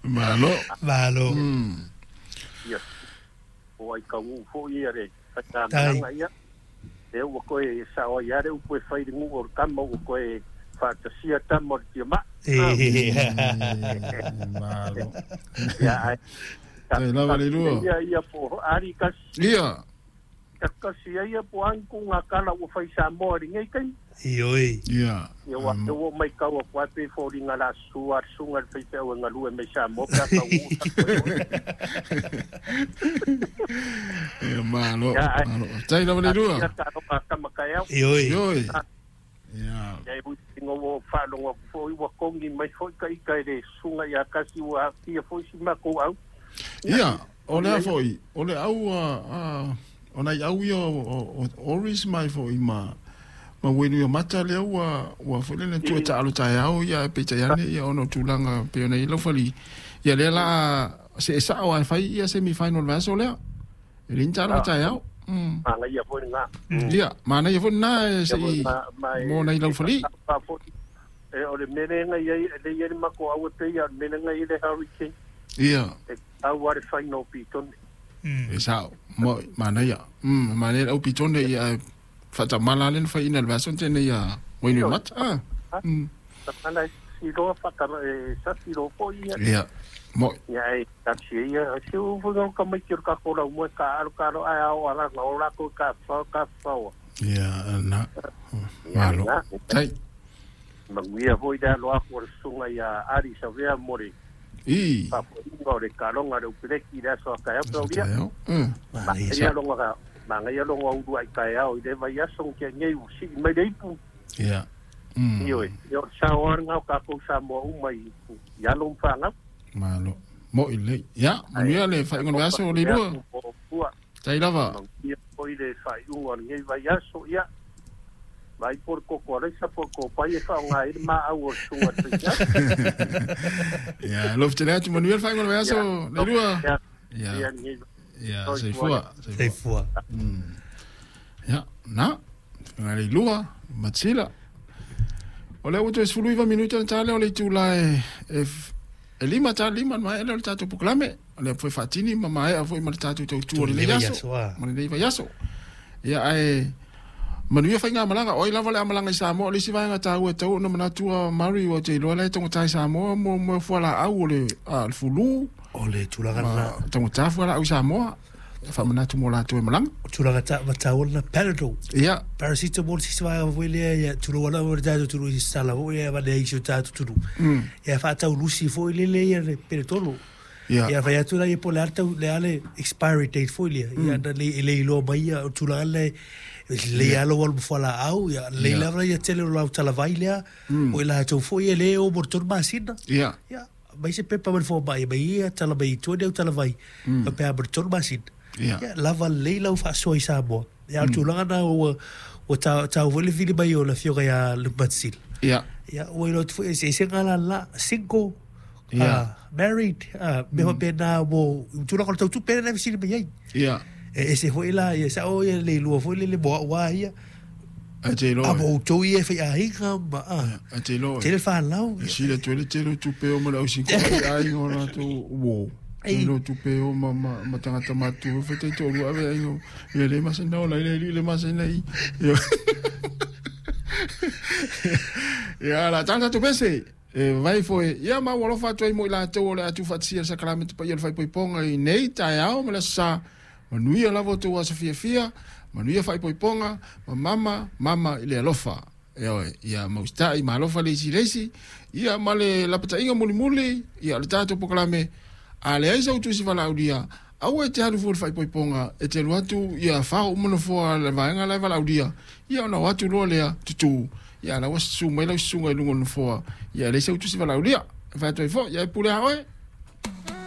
Malo. Malo. Ia. O ai kau fo ia le whakamalanga ia. E ua koe sa o ia le upu e whai ngu o kama ua koe whaatasia tama o le tia ma. Malo. Ia ai. Tai lava le lua. Ia ia po ari kasi. Ia. Kasi ia po anku ngā kala ua whai Samoa ri ngei kai. Ioi. Ia. Ia wa te o mai kau a koe pe fo ringa la sua sunga le whai whai ngā lue mai Samoa pea ka ua. Ia malo. Ia, ai. Malo. Tai lava le lua. Ia ka roka kama kai au. Ioi. Ioi. Ia. Ia e ui tinga o whalonga fo i wa kongi mai fo i ka ika e le sunga ia kasi ua kia fo i si mako au. Ia, o lea foi, o le au a o nai au ia o Oris mai foi ma wenu ia mata lea ua foi lena tua taalo taeao ia e peitai ane ia ona o tulaga pei ona i ai laufali. Ia lea la se e sao ai fai ia semi final le aso lea. E le ni taalo taeao. Manaia foi lena. Ia, manaia foi lena e se i mo nai laufali. E o le mele ngai ai le ia le mako au e pei a le mele ngai le Hurricane. Ia. E au are final pitone. E sao, mo manaia. Manaia au pitone ia whatamala le whai ina le vaso tēnei ia Wainui Mata. Ah. Tamala si roa whatara e sa si roa po ia. Ia. Mo. Ia e tachi ia si u fu ka mai ki ka kola mo ka aru ka ro ai au ala na ora ko ka fa ka fa. Ia na. Malo. Tai. Manguia foi da loa ko sunga ia ari sa vea more. I. Pa po le kalonga le upeleki la so ka ya po ia. Manaia. Ia longa manga ia longa uru ai kai au i le vai aso kia ngei u si mai le ipu. Ia. Ioi, ia sa oa ngau ka kou sa moa uma i ia lo mfanga. Malo. Mo i le. Ia, manuia le whainga o aso o le lua. Tai lava. Ia po i le whainga o ngei vai aso ia. Vai por koko alai sa por ko pai e whaonga i ma au o sunga te ia. Ia, lof te lea tu manuia le whainga o aso le lua. Ia. Ia. Ia, seifua. Seifua. Ia, na. Nga le lua, Matsila. O lea ua toe 19 minuta na tā lea o le itula e 5 tā 5 mai ele o le tātou pokalame. O lea foi whaatini ma maea foi ma le tātou tautua o lenei aso. Ma lenei vaiaso. Ia, ae manuia whai ngā malanga. Oi lava le amalanga i Samoa. O le isi vaenga tāua tau ona manatua Mari o te iloa le tongata i Samoa mo fuala au o le fulu. O le tulaga na. Tongata fuala au i Samoa. Whamanatu mō lātou e malanga. Tulaga tāua na Panadol. Ia. Paracetamol sisi vaega foi lea ia tulu wala o tātou tulu i sala foi ia vane ai si tātou tulu. Ia whaatau lusi foi lele ia le Panadol. Ia. Ia whai atu la ia po le atau le ale expiry date foi lea. Ia na le le iloa mai ia o tulaga le le alo wal mfuala au ia le lava ia tele o lau talavai lea. O i lātou foi ia le o mo tolu masina. Ia. Ia. Mai se pepa mai fo mai mai ia talavai tua neu talavai. Ka pea mo tolu masina. Ia. Ia lava lei lau whaasoa i Samoa. Ia tulaga na ua tau foi le vili mai o la fioga ia le Matsil. Ia. Ia ua ilo atu foi se se ngala la single. Ia. Married. Me ho pena mo tulaga o le tautu pena na visili mai ai. Ia. E se foi la ia sa o ia le lua foi le le moa ua ia. A te iloa. A mo tau ia whai ahinga ma a. A te iloa. Te le whanau. E sila tuele tele tupe o ma le ausi ko ai ahinga o latou wo. Ilo tupe o ma tangata matu e whai tō rua ave ai ia le masina o lai le masina i. Ia la tangata tu pese. E vai foi ia ma walofa atu ai mo i lātou o le atu whaatisia sakaramete pa ia le whaipoiponga i nei taeao ma le sa manuia lava o tō asa fiafia, manuia whaipoiponga, ma mama, mama i le alofa. E oe, ia maustai ma alofa le isi leisi, ia ma le lapatainga mulimuli, ia le tātou pokalame, a le aisa utusi walaudia, au e te haru fua le whaipoiponga, e te luatu ia whao umanafoa le vaenga lai walaudia, ia ona watu loa lea tutu, ia la wasu mai lau sunga i lunga o nofoa, ia le aisa utusi walaudia, e whaatoi fo, ia e pule haoe,